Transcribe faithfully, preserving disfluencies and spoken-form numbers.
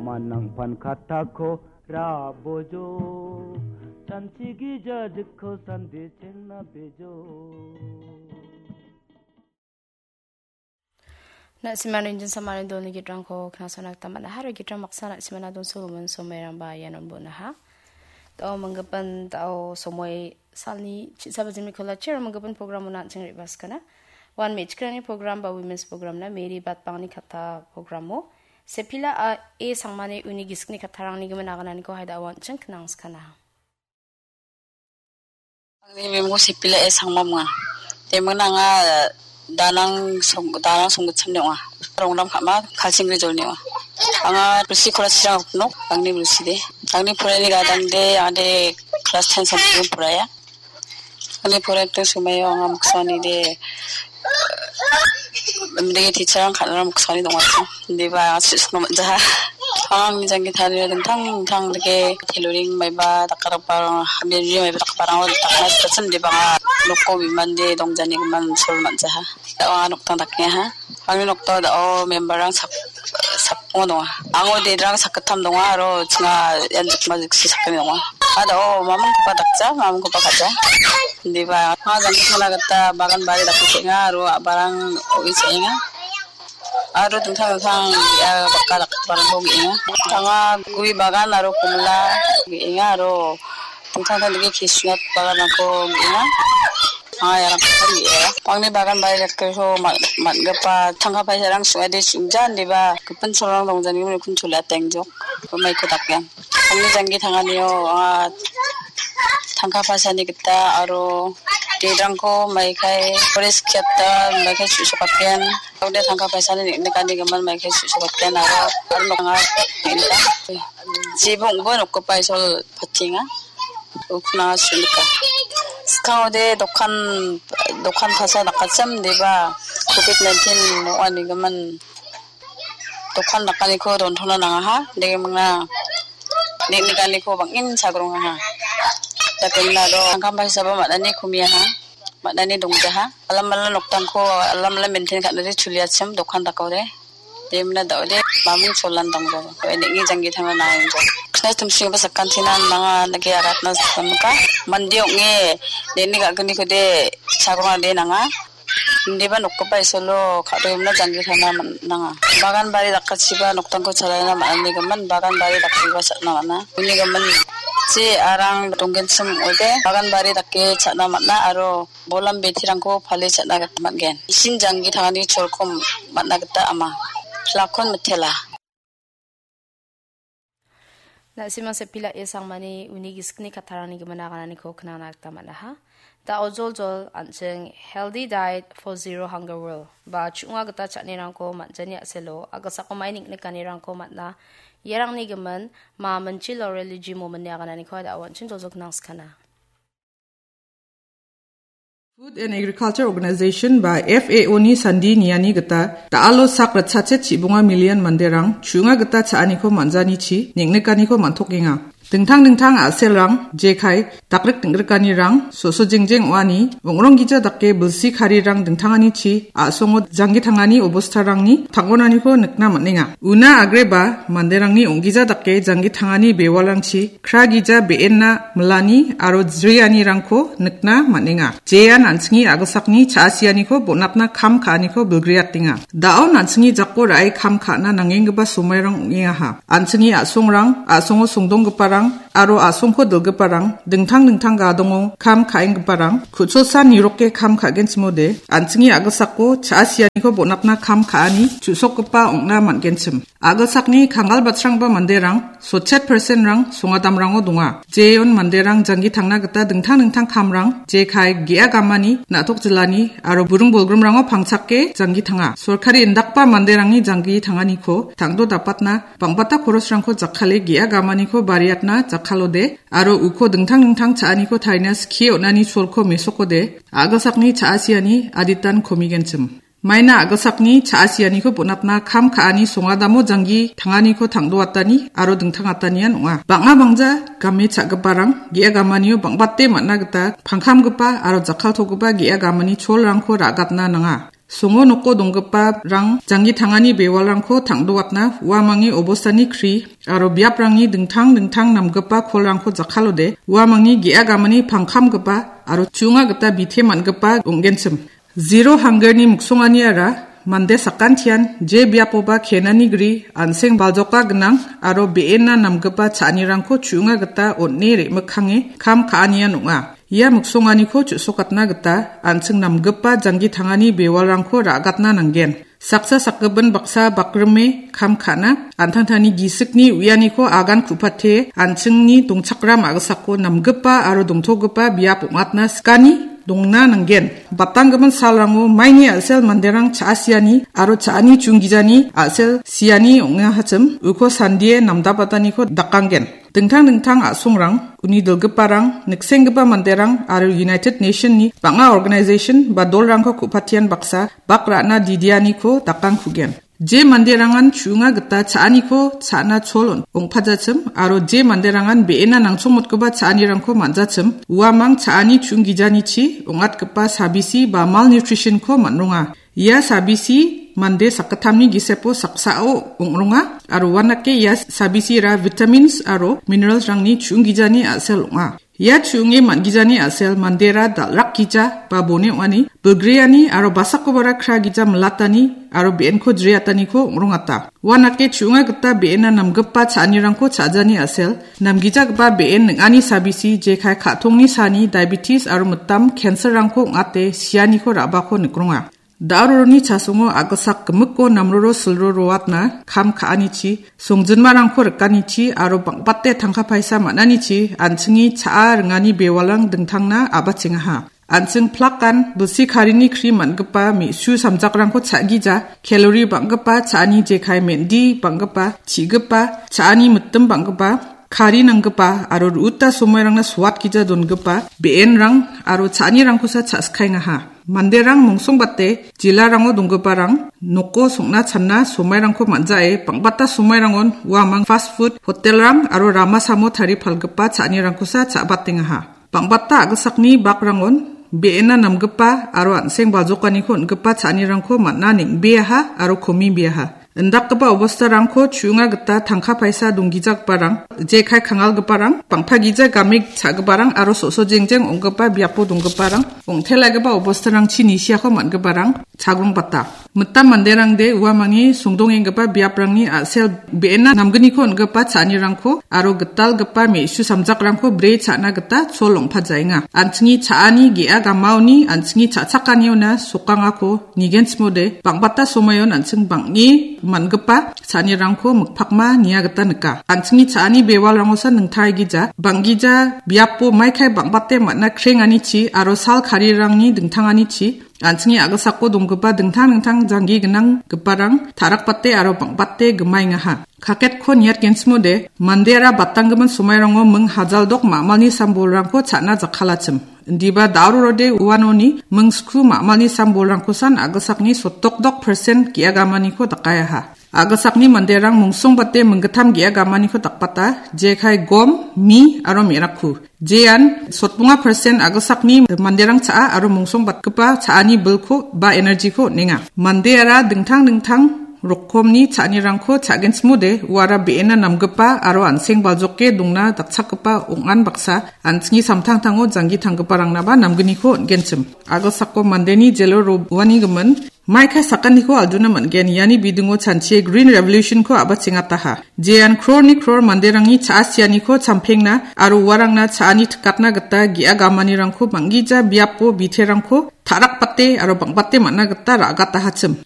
Manangpan katako rabojo, sanchi gija jikko sande chengna bejo. Na·simani injin samani dolni gitrangko knasona gita man·a. Haro gitrang baksa na·simana donsogimin somoirangba ianon bonaha. Dao manggipin dao somoi salni chi·saba jimni kolachi aro manggipin programo na·ching re·baskana. Wan me·chikrangni program ba women's program na Mary Batpangni katta programo. Sepila a e sangmani uni gisikni kattarangni gimin agananiko haida awanching knangskana. Angni mimung Sepila e Sangma ong·a. Temen anga Danang song-, Danang Songgitsamni ong·a. Rongram ka·ma Kalsingri jolni ong·a. Anga Rusi Kolachirang nok, angni Rusi de. Angni porani gadang de, ade class ten sampai poraya. Angni poraiakdong somoio anga miksani de, mending teacher-rang kan·ora miksani dongachim. Indiba anga su·sukna man·jaha. Angni janggi tarie dingtang dingtang dake tailoring maiba dakgiparang, hambianri maiba dakgiparang dakna sitachim, indiba anga noko bimande dongjanigimin sol man·jaha. Da·o anga nokdang dakengaha. Angni nokdao da·o member-rang sak-, sakbonga donga. Ango derang sakgittam donga aro chinga ian jikma jiksi sakgni donga. A da·o mamingkoba dakja, mamingkoba ka·ja. Indiba anga janggi tangna gita bagan bari dake ka·enga aro a·barang o·e cha·enga. Aro dingtang dingtang ia baka dakgiparangko ge·enga. Anga gue bagan aro komila ge·enga aro dingtang dingtang dake kisnat baganrangko ge·enga. Anga iarangko ge·enga. Angni bagan bari dakgipao man-, man·gipa tangka paisarang sing·ade sing·ja indiba gipin cholrang dongjani uni kun chola tengjok. Umaiko dakgen. Angni janggi tanganio anga tangka paisani gita aro derangko maikai forest kiata maikai su·sokatgen. Ode tangka paisani nek·nik anigimin maikai su·sokatgen aro, aro noknga nek·nika. Jibongbo nokgipa isol patenga. Ukna su·nika. Skangode dokan, dokan pasa dakachim deba covid nineteen ong·anigimin dokan dakaniko dontona nangaha, degimingna nek·nikaniko bang·en chagrongaha. Dakemingna aro tangkam paisaba man·ani komiaha, man·ani dongjaha. Alamala noktangko alamala maintain ka·nade chuliachim dokan dakode. Demna da·ode maming cholan dongjaha. Nek·ni janggi tangna nangenjo. Kna tumsingba sakantina nanga nage aratna sakamika. Mande ong·e nek·ni ga·ginikode chagrongade nanga. Indiba nokgipa isolo ka·doimna janggi tangna man-, nanga. Bagan bari dakachiba noktangko chalaina man·anigimin, bagan bari dakgipa cha·na man·a. Unigimin je arang donggenchim ong·ode, bagan bari dake cha·na man·a aro bolam betirangko pale cha·na gita man·gen. Isin janggi tangani cholko man·na gita ama. Plakon mitela. Na·simang Sepila e Sangmani uni gisikni kattarangni gimin agananiko knangna gita man·aha. Da·o joljol an·ching Healthy Diet for Zero Hunger World ba chu·nga gita cha·anirangko man·jani a·selo a·gisako mai nik·nikanirangko man·a. Iarangni gimin Ma Minchi Laurel Jimo minni agananiko da·o an·ching joljol knangskana. Food and Agriculture Organization ba F A O ni sandi niani gita da·alo sak ritchachet chibonga million manderang chu·nga gita cha·aniko man·janichi nik·nikaniko man·tokenga. Dingtang dingtang a·selrang, jekai, dakrik ding·grikanirang, so·so jengjeng ong·ani, ong·rong gija dake bilsi karirang dingtanganichi a·songo janggi tangani obostarangni tang·onaniko nikna man·enga. Una agreba manderangni ong·gija dake janggi tangani bewalrangchi kra gija be·enna milani aro jrianirangko nikna man·enga. Jean an·chingni a·gisakni cha·asianiko bonatna kam ka·aniko bilgriatenga. Da·o an·chingni jako ra·e kam ka·na nangenggipa somoirang ong·engaha. An·chingni a·songrang, a·songo songdonggiparang aro a·songko dilgiparang, dingtang dingtang gadongo kam ka·enggiparang, ku·cholsa niroke kam ka·genchimode, an·chingni a·gisako cha·asianiko bonatna kam ka·ani chu·sokgipa ong·na man·genchim. A·gisakni kanggal batrangba manderang, sotchet percent-rang songadamrango donga. Jeon manderang janggi tangna gita dingtang dingtang kamrang, jekai ge·a gamani, na·tok jilani aro buring bolgrimrango pangchake janggi tanga. Sorkari indakba manderangni janggi tanganiko tangdo dapatna bang·bata korosrangko jakkale ge·a gamaniko bariatna jakkalode aro uko dingtang dingtang cha·aniko tarina skie on·ani cholko mesokode a·gisakni cha·asiani aditan komigenchim. Maina a·gisakni cha·asianiko bonatna kam ka·ani songadamo janggi tanganiko tangdoatani aro dingtangatanian ong·a. Bang·a bangja game cha·giparang ge·a gamanio bang·bate man·a gita pangkamgipa aro jakkaltogipa ge·a gamani cholrangko ra·gatna nanga. Songo noko donggiparang janggi tangani bewalrangko tangdoatna uamangni obostani kri aro biaprangni dingtang dingtang namgipa kolrangko jakkalode uamangni ge·a gamani pangkamgipa aro chu·onga gita bite man·gipa ong·genchim. Zero hungerni miksonganiara mande sakantian je biapoba kenani gri an·seng baljoka gnang aro be·ena namgipa cha·anirangko chu·onga gita on·e re·mikkange kam ka·anian ong·a. Ia miksonganiko chu·sokatna gita an·ching namgipa janggi tangani bewalrangko ra·gatna nanggen. Saksa sakgipin baksa bakrime kam ka·na, an·tangtangni gisikni uianiko agan ku·pate an·chingni dongchakram a·gisako namgipa aro dongtogipa biap ong·atna sikani dongna nanggen. Batanggimin salrango maini a·sel manderang cha·asiani aro cha·ani chunggijani a·sel siani ong·ahachim, uko sandie namdabataniko dakanggen. Dingtang dingtang a·songrang, uni dilgiparang, niksenggipa manderang aro United Nation-ni bang·a organization ba dolrangko ku·patian baksa bak ra·na didianiko dakangkugen. Je manderangan chu·onga gita cha·aniko cha·na chol on-, ong·pajachim aro je manderangan be·ena nangchongmotgipa cha·anirangko man·jachim, uamang cha·ani chunggijanichi ong·atgipa sabisi ba malnutrition-ko man·ronga. Ia sabisi mande sakgittamni gisepo saksao ong·ronga aro uanake ia sabisira vitamins aro minerals-rangni chu·onggijani a·sel ong·a. Ia chu·onge man·gijani a·sel mandera dal·rakgija ba bone ong·ani, bilgreani aro basakobara kragija milatani aro be·enko jriataniko ong·rongata. Uanake chu·onga gita be·ena namgipa cha·anirangko cha·jani a·sel, namgijagipa be·en ning·ani sabisi jekai ka·tongni sani diabetes aro mitam cancer-rangko ong·ate sianiko ra·bako nikronga. Da·roroni chasongo a·gisak gimikko namroro silro roatna kam ka·anichi, songjinmarangko rikanichi aro bang·bate tangka paisa man·anichi an·chingni cha·a ringani bewalrang dingtangna a·bachengaha. An·ching plakan bilsi karini kri man·gipa me·su samjakrangko cha·gija, kalori bang·gipa cha·ani jekai mendi bang·gipa, chi·gipa, cha·ani mitim bang·gipa, kari nanggipa aro ru·uta somoirangna soatgija dongipa be·enrang aro cha·anirangkosa cha·sikaengaha. Manderang mongsongbate jilarango donggiparang noko song·na channa somoirangko man·jae bang·bata somoirangon uamang fast food hotelrang aro rama samo tarie palgipa cha·anirangkosa cha·batengaha. Bang·bata a·gisakni bakrangon be·ena namgipa aro an·seng baljokaniko on·gipa cha·anirangko man·a neng·beaha aro komibeaha. Indakgipa obostarangko chu·onga gita tangka paisa donggijagiparang, jekai kangalgiparang, bang·pagija game cha·giparang aro so·so jengjeng ong·gipa biapo donggiparang, ong·telaigipa obostarangchi nisiako man·giparang chagrongbata. Mitam manderangde uamangni songdongenggipa biaprangni a·sel be·ena namgniko on·gipa cha·anirangko aro gitalgipa me·su samjakrangko bri cha·na gita chol ong·pajaenga. An·chingni cha·ani ge·a gamaoni an·chingni cha·chakaniona sokangako nigenchimode, bang·bata somoion an·ching bang·e man·gipa cha·anirangko mikpakma nia gita nika. An·chingni cha·ani bewalrangosa ningtaigija, bang·gija biapo maikai bang·bate man·a krenganichi aro sal karirangni dingtanganichi, an·chingni a·gisako donggipa dingtang dingtang janggi gnanggiparang ta·rakbate aro bang·bate gimaengaha. Kaketko niatgenchimode, mandeara batanggimin somairango ming hajaldok ma·malni sambolrangko cha·na jakkalachim. Indiba da·rorode uanoni ming sku ma·malni sambolrangkosan a·gisakni sotdokdok persen ge·a gamaniko dakaeaha. A·gisakni manderang mongsongbate minggittam ge·a gamaniko dakbata, jekai gom, mi aro me·rakku. Jean sotbonga persen a·gisakni manderang cha·a aro mongsongbatgipa cha·ani bilko ba energy-ko on·enga. Mandeara dingtang dingtang rokomni cha·anirangko cha·genchimode, uara be·ena namgipa aro an·seng baljoke dongna dakchakgipa ong·an baksa an·chingni samtangtango janggi tanggiparangna ba namgniko on·genchim. A·gisako mandeni jelo ro-, roanigimin maikai sakaniko alduna man·gen. Iani bidingo chanchie Green Revolution-ko a·bachengataha. Jean crore-ni crore manderangni cha·a sianiko champengna aro uarangna cha·ani tikatna gita ge·a gamanirangko bang·gija biapo biterangko ta·rakbate aro bang·bate man·a gita ra·gatahachim.